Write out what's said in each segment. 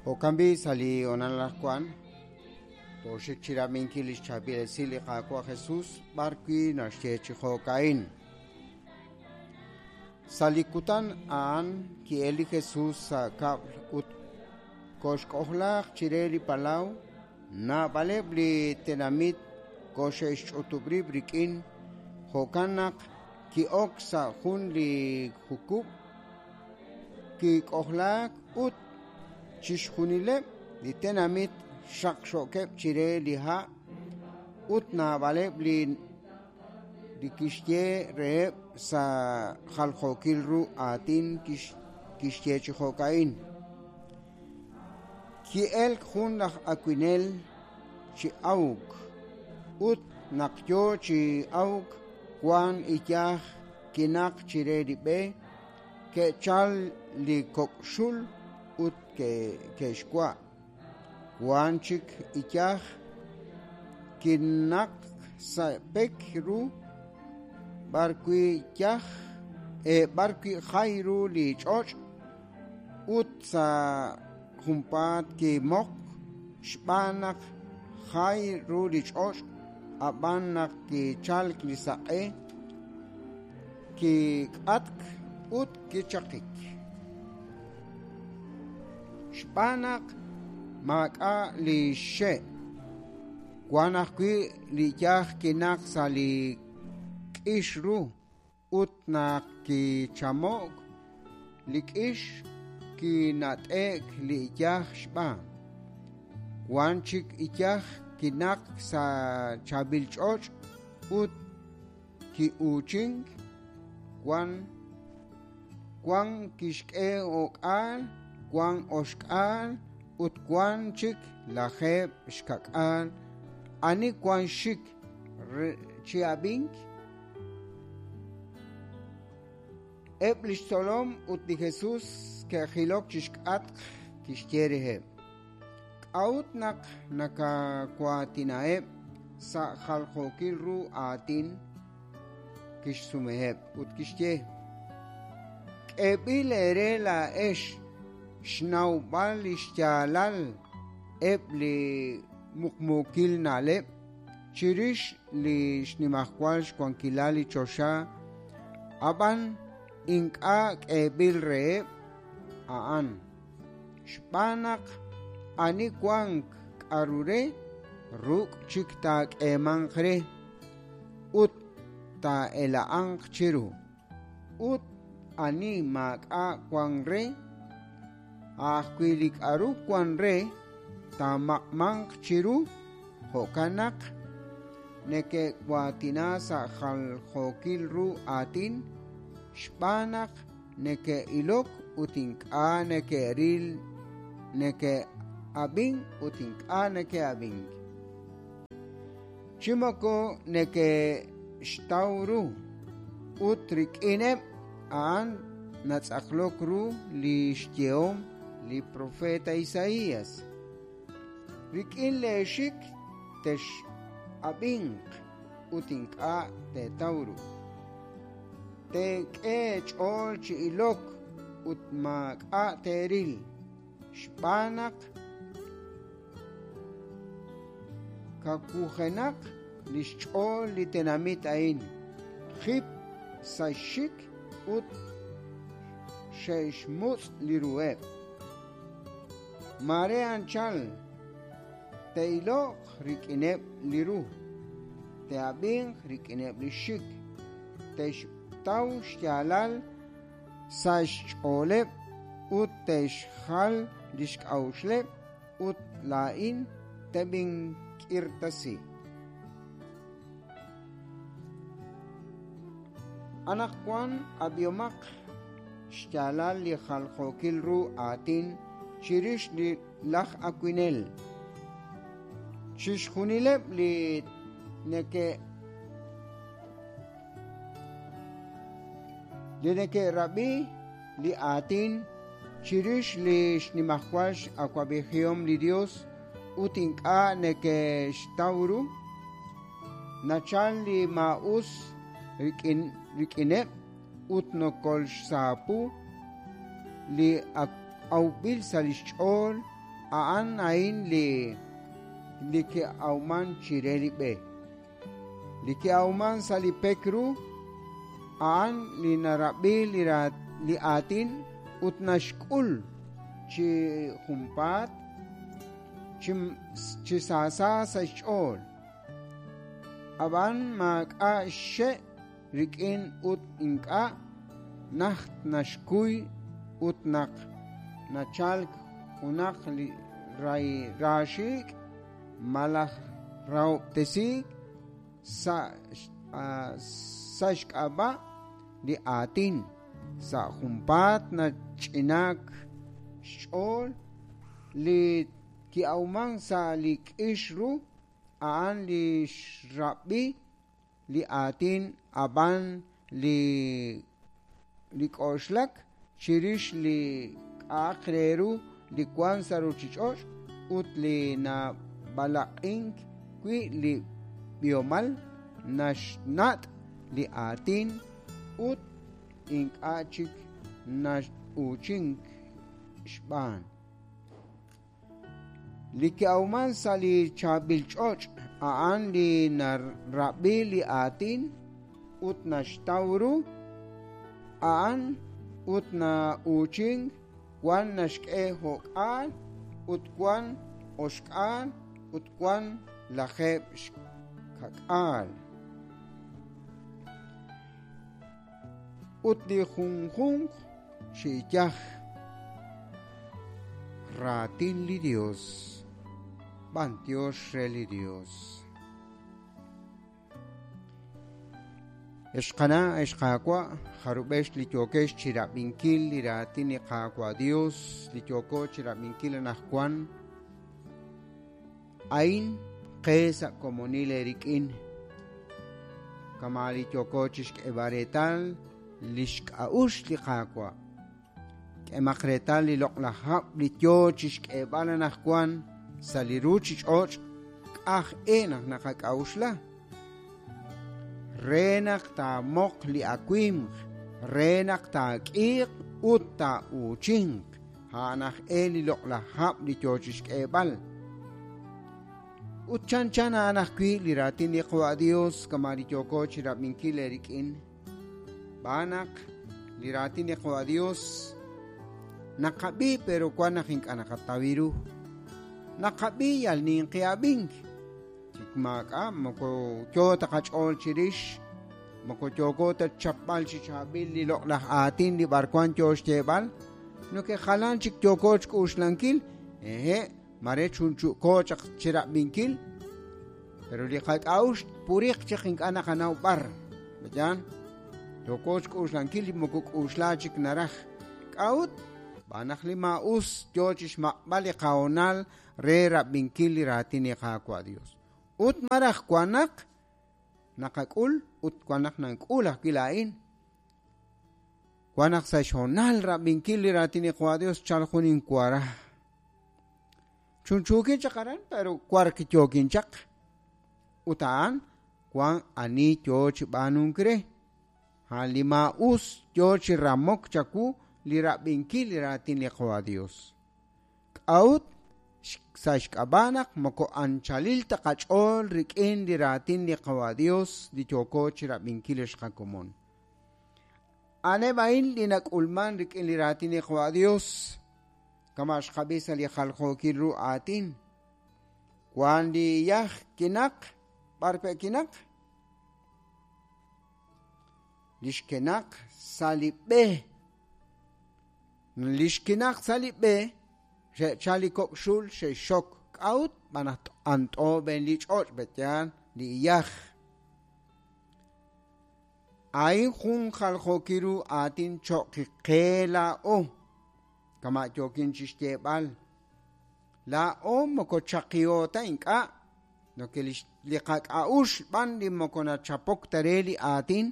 Jo'kan b'i' sa' li hoonal anaqwan tooxik chi rab'inkil li xchaab'il esil li Qaawa' Jesus b'arwi' naxye chi jo'ka'in. Sa' li kutan a'an ki'elk li Jesus sa' kab'l ut koxk'ojlaaq chire li palaw. Naab'aleb' li tenamit koxe'xch'utub' rib' rik'in, jo'kan naq ki'ok sa' jun li jukub', kik'ojlaak ut chixjunileb' li tenamit xaqxo'keb' chire li ha' ut naab'aleb' li li kixye reheb' sa' jaljookil ru aatin kixye chi jo'ka'in. Ki'elk jun laj awinel chi awk, ut naq yo chi awk wank iyaj kinaq chire li b'e, ke'chalk li kok' xul ut ke'xwa'. Wank chik iyaj kinaqk sa' pek ru b'arwi' yaj b'arwi' jay ru li ch'och' ut sa' junpaat kimoqk xb'aan naq jay ru li ch'och', ab'an naq kichalk li saq'e, kik'atk ut kichaqik. Xb'aan naq maak'a' li xxe', wank ajwi' li iyaj kinaq sa' li k'ix ru ut naq kichamo'k li k'ix kinat'e'k li iyaj xb'aan. Wank chik iyaj kinaqk sa' chaab'il ch'och' ut ki'uuchink, wan wan kixk'e o'k'aal, wan oxk'aal ut wan chik lajeeb' xka'k'aal. Ani wank xxik chi ab'ink? Eb' li xtzolom ut li Jesus ke'jilok chi xk'atq, kixye reheb': K'a'ut naq nakawaatinaheb' sa' jaljookil ru aatin? Kixsumeheb' ut kixye: K'eeb'il eere laa'ex xnawb'al li xyaalal eb' li muqmuukil na'leb' chirix li xnimajwal xwankilal li choxa, ab'an ink'a' k'eeb'il reheb' a'an. Xb'aan naq ani wank k'aru re, ruk' chik taak'eemanq re ut taa'ela'anq chiru. Ut ani maak'a' wank re, a' ajwi' li k'aru wank re taamaq'manq chiru. Jo'kan naq neke'waatina sa' jaljookil ru aatin xb'aan naq neke'ilok ut ink'a' neke'ril, neke'ab'ink ut ink'a' neke'ab'ink. Chi moko neke'xtaw ru, ut rik'ineb' a'an natz'aqlok ru li xyehom li propeet Isaías: Rik'in leexik tex'ab'inq ut ink'a' teetaw ru. Teek'e eech'ool chi ilok ut maak'a' teeril, xb'aan naq kawujenaq li xch'ool li tenamit a'in, jip sa' xxik ut xe'xmutz' li ruheb'. Maare anchal te'iloq rik'ineb' li ru, te'ab'inq rik'ineb' li xxik, te'xtaw xyaalal sa' xch'ooleb' ut te'xjal li xk'a'uxleb' ut laa'in teb'ink'irtasi. Anaqwan ab'ihomaq xyaalal li jaljookil ru aatin chirix li laj awinel. Chixjunileb' li neke' li neke'rab'i li aatin chirix li xnimajwal x'awab'ejihom li Yos ut ink'a' neke'xtaw ru, nachal li maa'us rik'in rik'ineb' ut nokolxsaapu li ak awb'il sa' li xch'ool. A'an a'in li li ki'awman chire li b'e. Li ki'awman sa' li pek ru, a'an li narab'i li aatin ut naxk'ul chi junpaat chi saasa sa' xch'ool. Ab'an maak'a' xxe' rik'in ut ink'a' najt naxkuy ut naq nachalk junaq li raaxiik' malaj rahob'tesiik sa' xk'ab'a' li aatin, sa' junpaat nach'inaak xch'ool li ki'awmank sa' li k'ix ru a'an li xrab'i li aatin ab'an li li k'oxlak chirix li k'a'aq re ru li wank sa' ruuchich'och' ut li nab'alaq'ink wi' li b'ihomal naxnat' li aatin ut ink'a' chik na'uuchink xb'aan. Li ki'awman sa' li chaab'il ch'och' a'an li narab'i li aatin ut naxtaw ru a'an ut na'uuchink wan naxk'e jo'k'aal ut wan oxk'aal ut wan lajeeb' xka'k'aal. Ut li junjunq chi iyaj raatin li Dios, b'antiox re li Dios. Ex qana', ex qaawa', jarub'ex li yookex chirab'inkil li raatin li Qaawa' Dios li yooko chirab'inkil anaqwan, a'in qe sa' komonil eerik'in. Kama' li yooko chixk'eeb'al reetal lix k'a'uxl li Qaawa'. K'emaq reetal li loq'laj hab' li yoo chixk'eeb'al anaqwan sa' li ruchich'och' k'aj e naq naqak'a'uxla. Re naq taamoq li awimq, re naq taak'iiq ut taa'uuchinq, a'an aj e li loq'laj hab' li yoo chixk'eeb'al. Ut chanchan a'an ajwi' li raatin li Qawa' Dios kama' li yooko chirab'inkil eerik'in. Xb'aan naq li raatin li Qawa' Dios naqab'i pero wan naq ink'a' naqataw ru. Naqab'i yal ninqi ab'ink. Chik maak'a' moko yoo ta qach'ool chirix, moko yooko ta chapb'al chi chaab'il li loq'laj aatin li b'arwan yoo xyeeb'al, noke jalan chik yooko xk'uxlankil, ehe', mare chunchu'ko chaq chirab'inkil, pero li qak'a'uxl puriq chaq ink'a' naqanaw b'ar. Mayan, yooko xk'uxlankil li moko k'uxla chik naraj. K'a'ut? Xb'aan naq li maa'us yoo chixmaq'b'al li qahoonal re rab'inkil li raatin li Qaawa' Dios. Ut maraj wan naq naqak'ul ut wan naq nank'ul ajwi' laa'in. Wan naq sa' xhoonal rab'inkil li raatin li Qaawa' Dios chal jun inwara. Chunchuukin chaq aran, pero wark yookin chaq. Ut a'an wan ani yoo chi b'aanunk re. A'an li maa'us yoo chi ramok chawu li rab'inkil li raatin li Qaawa' Dios. K'a'ut? Sa' xk'ab'a' naq moko anchalil ta qach'ool rik'in li raatin li Qaawa' Dios li yooko chirab'inkil ex qakomon. A'aneb' a'in li nak'ulman rik'in li raatin li Qaawa' Dios, kama' xqab'i sa' li jaljookil ru aatin. Wan li iyaj kinaq, b'ar pe' kinaq? Li xkenaq sa' li b'e. Li xkinaq sa' li b'e, xe'chal li kok' xul xe'xxok. K'a'ut? Xb'aan naq t'ant'o b'een li ch'och' pe'yaal li iyaj. A'in jun jaljookil ru aatin cho'q qe laa'o, kama' yookin chixyeeb'al. Laa'o moko chaqiho ta ink'a', noke li qak'a'uxl b'an li moko nachapok ta re li aatin,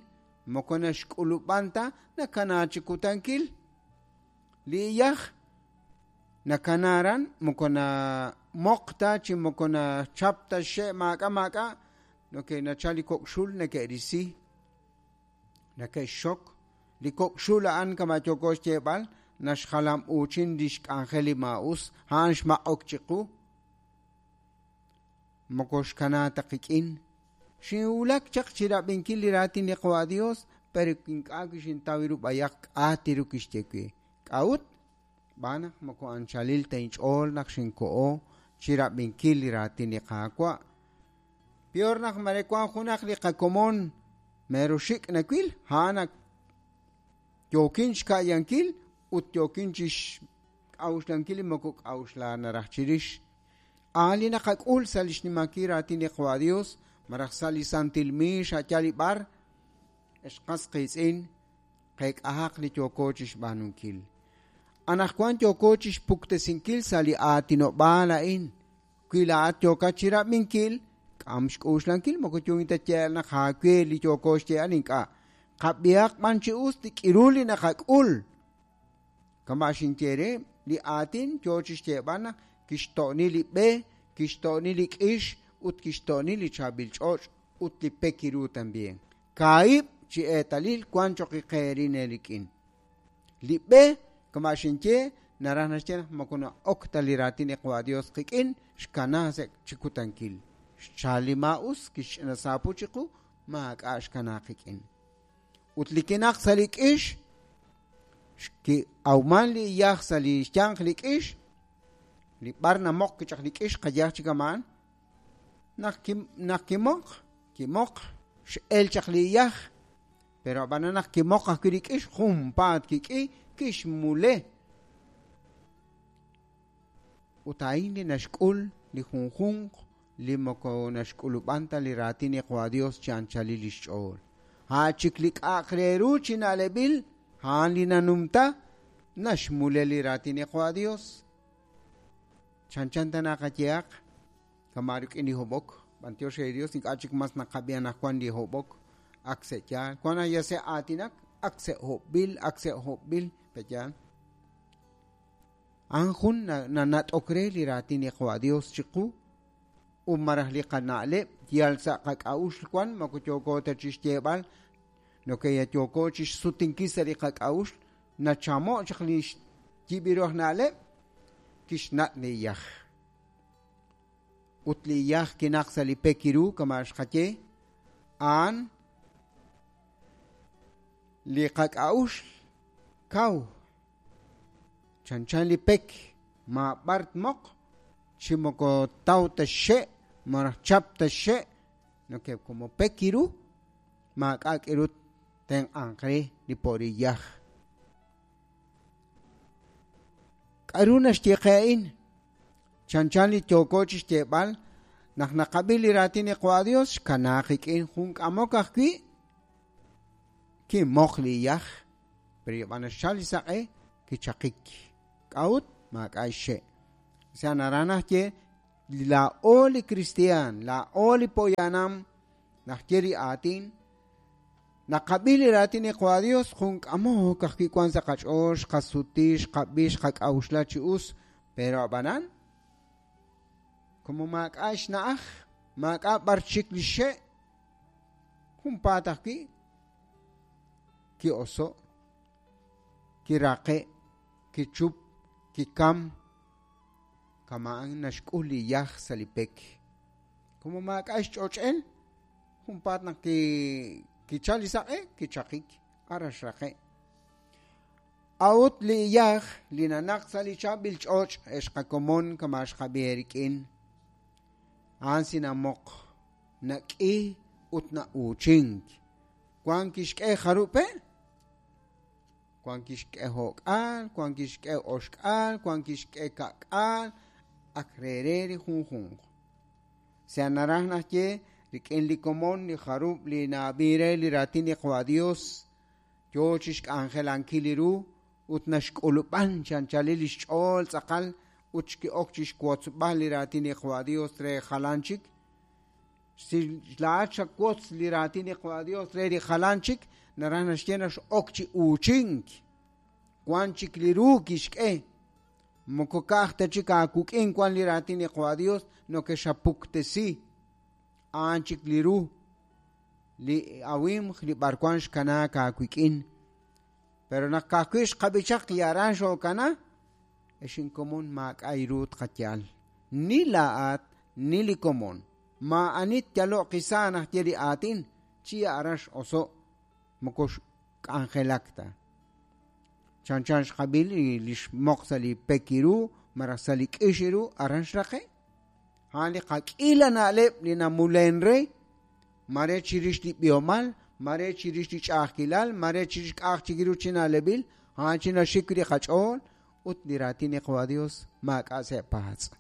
moko naxk'ulub'an ta nakana chi kutankil. Li iyaj nakana aran moko namoq ta chi moko nachap ta xxe' maak'a' maak'a', noke nachal li kok' xul neke'risi, neke'xxok. Li kok' xul a'an kama' yooko xyeeb'al, naxjalam'uuchin li xk'anjel li maa'us, a'an xmaq'ok chiqu. Moko xkana ta qik'in. Xinwulak chaq chi rab'inkil li raatin li Qawa' Dios, pero ink'a' kixintaw ru b'ayaq k'a' ti ru kixye we. K'a'ut? Xb'aan naq moko anchalil ta inch'ool naq xinkoho chi rab'inkil li raatin li Qaawa'. Peor naq mare wank junaq li qakomon mero xik' nawil, a'an ak yookin xka'yankil ut yookin chi xk'a'uxlankil li moko k'a'uxla naraj chirix. A'an li naqak'ul sa' li xnimankil raatin li Qawa' Dios, malaj sa' li santil miix a' yaal li b'ar, ex qas qiitz'in, qeek'ahaq li yooko chi xb'aanunkil. Anaqwan yooko chi xpuktesinkil sa' li aatinob'aal a'in. Wi laa'at yookat chi rab'inkil, k'am xk'uxlankil, moko yookin ta xyeeb'al naq aawe li yooko xyeeb'al ink'a'. Qab'ihaq b'an chi us li k'iru li naqak'ul. Kama' xinye re, li aatin yoo chi xyeeb'al naq kixto'ni li b'e, kixto'ni li k'ix ut kixto'ni li chaab'il ch'och' ut li pek ru también. Kaahib' chi eetalil wank cho'q qeerin eerik'in. Li b'e, kama' xinye, naraj naxye naq moko na'ok ta li raatin li Qawa' Dios qik'in, xkana sa' chi kutankil. Xchal li maa'us, kixch'ina saapu chiqu, maak'a' xkana qik'in. Ut li kinaq sa' li k'ix, xki'awman li iyaj sa' li xyanq li k'ix, li b'ar namoq kichaq li k'ix qayaj chi kama'an, naq kimoq, kimoq, x'el chaq li iyaj, pero ab'anan naq kimoq ajwi' li k'ix, junpaat kik'i, kixmule. Ut a'in li naxk'ul li junjunq li moko naxk'ulub'an ta li raatin li Qawa' Dios chi anchalil li xch'ool. A' chik li k'a'aq re ru chi na'leb'il, a'an li nanumta, naxmule li raatin li Qawa' Dios. Chanchan ta naqayehaq, kama' rik'in li hob'ok, b'antiox re li Dios, ink'a' chik mas naqab'i anaqwan li hob'ok, ak se' yaal. Wank naq ya se' aatinak, ak se' hob'b'il, ak se' hob'b'il, pe' yaal. A'an jun nanat'ok re li raatin li Qawa' Dios chiqu ut malaj li qana'leb' yal sa' qak'a'uxl wan moko yooko ta chi xyeeb'al noke yooko chi xsutinkil sa' li qak'a'uxl nachamo' chaq li xyib'iru aj na'leb' kixnat' li iyaj. Ut li iyaj kinaq sa' li pek ru kama' xqaye, a'an li qak'a'uxl kaw chanchan li pek maab'ar tmoq chi moko taw ta xxe' malaj chap ta xxe' noke como pek ru maak'a' k'iru tenq'anq re li po'riyaj. K'aru naxye qe a'in? Chanchan li yooko chi xyeeb'al naq naqab'i li raatin li Qawa' Dios xkanaaq qik'in jun k'amok ajwi' kimoq li iyaj, pero yab'an naxchal li saq'e kichaqik. K'a'ut? Maak'a' xxe'. Sa naraj naxye laa'o li kristiaan, laa'o li poyanam, naxye li aatin, naqab'i li raatin li Qawa' Dios jun k'amok ajwi' wank sa' qach'ool, xqasuti, xqab'i, xqak'a'uxla chi us, pero ab'anan como maak'a' xna'aj, maak'a' b'ar chik li xxe', junpaat ajwi' ki'oso', kiraqe', kichup, kikam, kama'an naxk'ul li iyaj sa' li pek. Como maak'a' xch'och'el, junpaat naq kichal li saq'e, kichaqik, ara xraqe'. A'ut li iyaj li nanaq sa' li chaab'il ch'och' ex qakomon kama' xqab'i eerik'in, a'an sinamoq, nak'i ut na'uuchink. Wank kixk'e jarub' pe'? Wank kixk'e jo'k'aal, wank kixk'e oxk'aal, wank kixk'e ka'k'aal, ak re li junjunq. Sa naraj naxye rik'in li komon li jarub' li na'ab'i re li raatin li Qawa' Dios yoo chi xk'anjelankil li ru ut naxk'ulub'an chi anchalil li xch'ool tz'aqal ut xki'ok chi xwotzb'al li raatin li Qawa' Dios re jalan chik. Si laa'at xawotz li raatin li Qawa' Dios re li jalan chik, naraj naxye naq x'ok chi uuchink. Wank chik li ru kixk'e. Moko ka'aj ta chik aawuk'in wank li raatin li Qawa' Dios nokexapuktesi. A'an chik li ru li awimq li b'arwan xkanaak aawik'in. Pero naq ka'ajwi' xqab'i chaq li aran xookana, ex inkomon maak'a' ru tqayal. Ni laa'at, ni li komon. Maa'ani tyaloq qisa' najye li aatin, chi aran x'oso' moko xk'anjelak ta. Chanchan xqab'i li xmoq sa' li pek iru, malaj sa' li k'ix iru, aran xraqe'. A'an li qak'iila na'leb' li namulen re, mare chirix li b'ihomal, mare chirix li ch'a'ajkilal, mare chirix k'a'aj chik ru chi na'leb'il, a'an chi naxik li qach'ool ut li raatin li Qawa' Dios maak'a' sa' paatz'.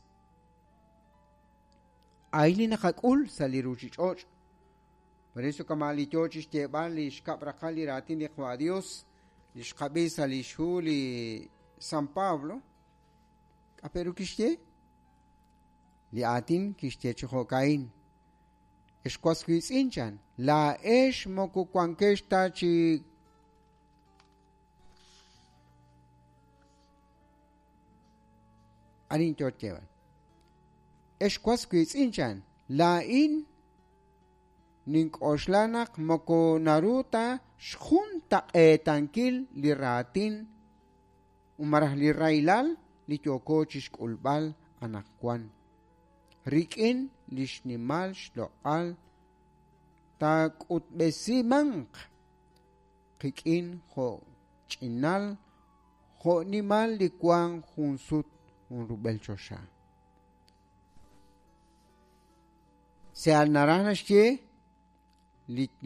A'in li naqak'ul sa' li ruchich'och'. Por eso kama' li yoo chixyeeb'al li xkab' raqal li raatin li Qawa' Dios, li xqab'i sa' li xhu li San Pablo, k'a' pe ru kixye? Li aatin kixye chi jo'ka'in: Ex was wiitz'in chan, laa'ex moko wankex ta chi arin yoo xyeeb'al. Ex was wiitz'in chan, laa'in nink'oxla naq moko naru ta xjuntaq'eetankil li raatin malaj li rahilal li yooko chixk'ulb'al anaqwan. Rik'in li xnimal xloq'al taak'utb'esimanq qik'in jo' ch'inal jo' nimal li wank jun sut jun rub'el choxa. Seal naraj naxye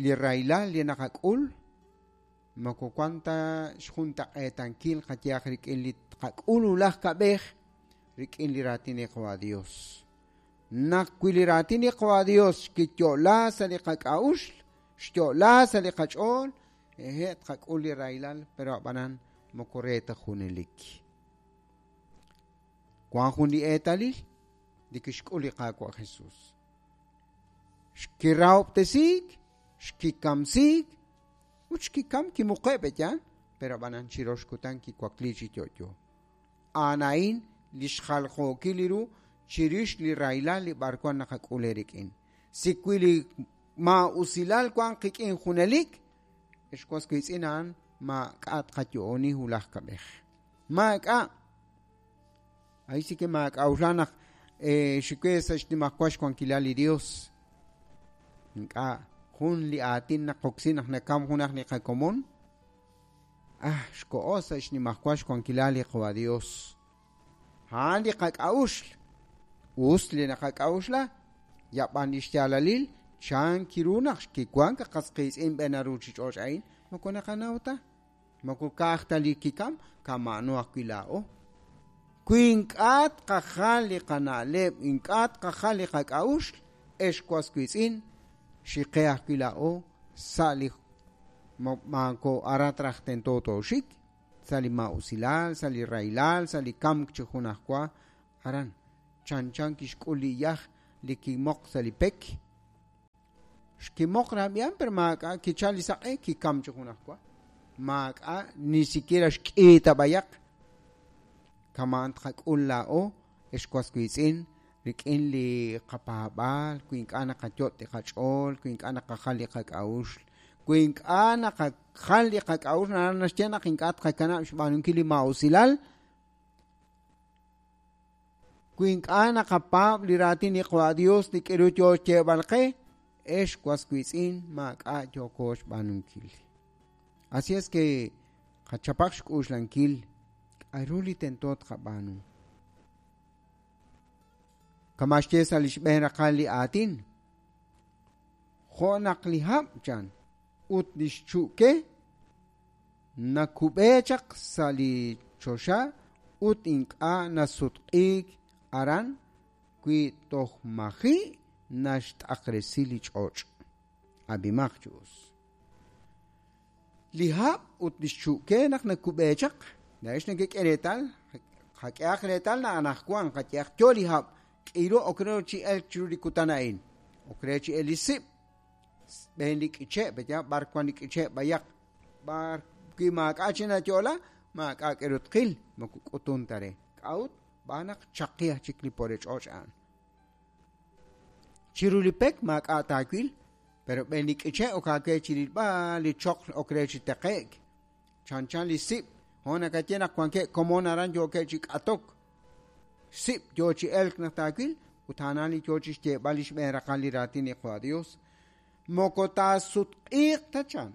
li rahilal li naqak'ul moko wan ta xjuntaq'eetankil qayehaq rik'in li tqak'ul wulaj kab'ej rik'in li raatin li Qawa' Dios. Naq wi li raatin li Qawa' Dios kiyo'la sa' li qak'a'uxl, xyo'la sa' li qach'ool, ehe' tqak'ul li rahilal, pero ab'anan moko re ta junelik. Wan jun li eetalil li kixk'ul li Qaawa' Jesús. Xkirahob'tesiik, xkikamsiik, ut xkikam kimuqe' pe'yaal, pero ab'anan chirox kutan kiwakli chi yo'yo. A'an a'in li xjaljookil li ru chirix li rahilal li b'arwan naqak'ul eerik'in. Si wi li maa'usilal wank qik'in junelik, ex was wiitz'in a'an maak'a' tqayo'oni wulaj kab'ej. Maak'a'. Ahí sí que maak'a'uxla naq xiwe sa' xnimajwal xwankilal li Dios. Ink'a' jun li aatin naqoksi naq nakam junaq li qakomon. Ah, xko'o sa' xnimajwal xwankilal li Qawa' Dios. A'an li qak'a'uxl. Us li naqak'a'uxla, yab'an li xyaalalil chan kiru naq kiwank qas qiitz'in b'een ruchich'och' a'in moko naqanaw ta. Moko ka'aj ta li kikam, kama'ano ajwi' laa'o. Wi ink'a' tqajal li qana'leb', ink'a' tqajal li qak'a'uxl, ex was wiitz'in, xiqe ajwi' laa'o sa' li maako arat raj tento tooxik, sa' li maa'usilal, sa' li rahilal, sa' li kamk chi junajwa aran. Chanchan kixk'ul li iyaj li kimoq sa' li pek. Xkimoq rab'yan, pero maak'a' kichal li saq'e, kikam chi junajwa. Maak'a' ni siquiera xk'iita b'ayaq. Kama'an tqak'ul laa'o, ex was wiitz'in, rik'in li qapaab'aal, wi ink'a' naqayot' li qach'ool, wi ink'a' naqajal li qak'a'uxl, wi ink'a' naqajal li qak'a'uxl, naraj naxye naq ink'a' tqakanab' xb'aanunkil li maa'usilal, wi ink'a' naqapaab' li raatin li Qawa' Dios li k'iru yoo xyeeb'al qe, ex was wiitz'in maak'a' yooko xb'aanunkil. Así es que qachapaq xk'uxlankil k'a'ru li tento tqab'aanu. Kama' xye sa' li xb'een raqal li aatin, jo' naq li hab' chan ut li xchu'ke nakub'e chaq sa' li choxa ut ink'a' nasutq'iik aran wi toj maji' naxt'aqresi li ch'och'. Ab'imaq chi us. Li hab' ut li xchu'ke naq nakub'e chaq, laa'ex nekek'e reetal, qak'ehaq reetal naq anaqwan qayehaq yo li hab', k'iru ok re chi elk chiru li kutan a'in. Ok re chi elk li sib', b'een li k'iche', pe'yaal b'ar wan li k'iche' b'ayaq, b'ar wi maak'a' chi nayo'la, maak'a' k'eru tqil, moko k'utun ta re. K'a'ut? B'aan naq chaqi aj chik li pore ch'och' a'an. Chiru li pek maak'a' taawil, pero b'een li k'iche' ok aawe chi rilb'al li choql ok re chi teqe'k. Chanchan li sib', jo' nakaye naq wankeb' komon aran yookeb' chi k'atok. Sib' yoo chi elk naq taawil, ut a'anan li yoo chixyeeb'al li xb'een raqal li raatin li Qawa' Dios. Moko taasutq'iiq ta chan,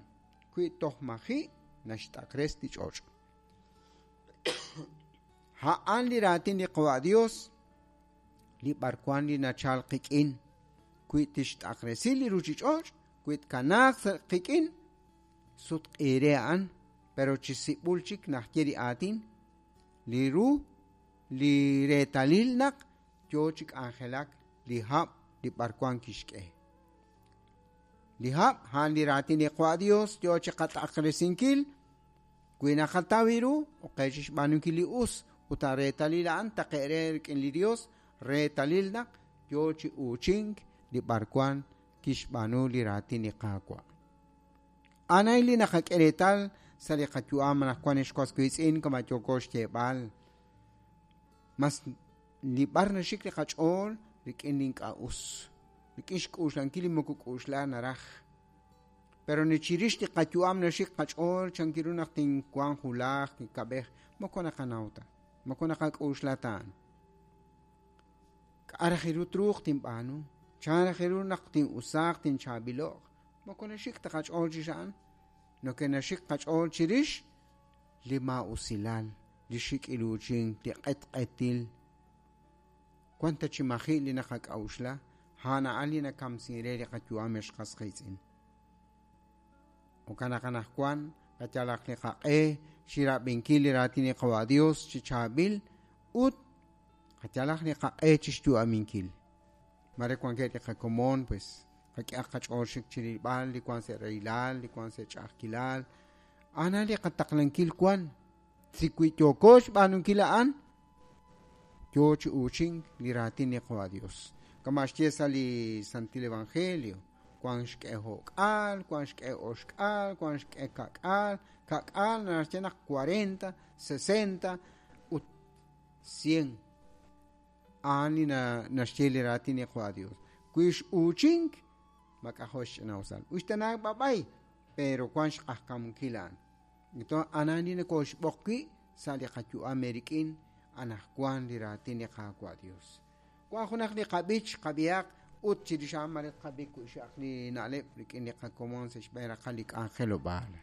wi toj maji' naxt'aqres li ch'och'. A'an li raatin li Qawa' Dios, li b'arwan li nachal qik'in, wi tixt'aqresi li ruchich'och', wi tkanaaq sa' qik'in, sutq'i re a'an, pero chi sib'ul chik naxye li aatin, li ru, li reetalil naq yoo chi k'anjelak li hab' li b'arwan kixk'e. Li hab', a'an li raatin li Qawa' Dios yoo chi qat'aqresinkil, wi naqataw ru, oqe chixb'aanunkil li us, ut a reetalil a'an taqe' re rik'in li Dios, reetalil naq yoo chi uuchink li b'arwan kixb'aanu li raatin li Qaawa'. A'an li naqak'e reetal sa' li qayu'am anaqwan ex was wiitz'in kama yooko xyeeb'al. Mas li b'ar naxik li qach'ool rik'in li ink'a' us, rik'in xk'uxlankil li moko k'uxla naraj. Pero ni chirix li qayu'am naxik qach'ool chankiru naq tinwanq wulaj kab'ej moko naqanaw ta, moko naqak'uxla ta a'an. K'a' raj ru truuq tinb'aanu, chan raj ru naq tin'usaaq tinchaab'ilo'q, moko naxik ta qach'ool chirix a'an, noke naxik qach'ool chirix li maa'usilal, li xik'iluuchink, li q'etq'etil. Wan ta chi maji' li naqak'a'uxla, a'an a'an li nakamsin re li qayu'am ex qas qiitz'in. Jo'kan naq anaqwan qayalaq li qaq'e chirab'inkil li raatin li Qawa' Dios chi chaab'il ut qayalaq li qaq'e chixyu'aminkil. Mare wankeb' li qakomon, pues qak'ehaq qach'ool xik chirilb'al li wan sa' rahilal, li wan sa' ch'a'ajkilal. A'an li qataqlankil wan. Si wi yooko xb'aanunkil a'an, yoo chi uuchink li raatin li Qawa' Dios. Kama xye sa' li Santil Evangelio, wan xk'e jo'k'aal, wan xk'e oxk'aal, wan xk'e ka'k'aal, ka'k'aal naxye naq 40, 60 ut 100. A'an li naxye li raatin li Qawa' Dios. Wi x'uuchink, mak'ajo' xch'ina'usal. Uxtanaak b'ab'ay, pero wan xq'ajkamunkil a'an. Entonces, a'an li nokoxb'oq wi' sa' li qayu'am eerik'in anaqwan li raatin li Qaawa' Dios. Wan junaq li qab'ich qab'ihaq ut chirix a'an mare tqab'i kuxaq li na'leb' rik'in li qakomon sa' xb'een raqal li k'anjelob'aal.